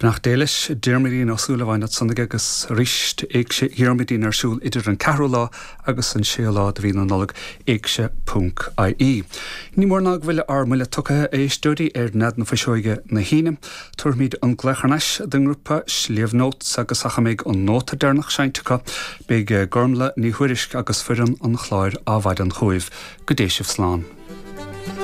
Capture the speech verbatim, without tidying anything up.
Beannacht Dé leis Diarmuidín Ó Súilleabháin ansan agus arís Éigse Dhiarmuidín ar siúl idir an ceathrú lá agus an séú lá de mhí na Nollag éigse ponc IE. Ní mór ná go bhfuil ár mbuille tugtha a éisteoirí ar Nead na Fuiseoige na hAoine, Tabharfaimid an glaoch anois don ngrúpa Sliabh Notes agus ach a mbeidh an nóta deireanach seinnte acu, beidh Gormla Ní Thuairisg agus foireann an chláir Adhmhaidin chugaibh go dté sibh slán.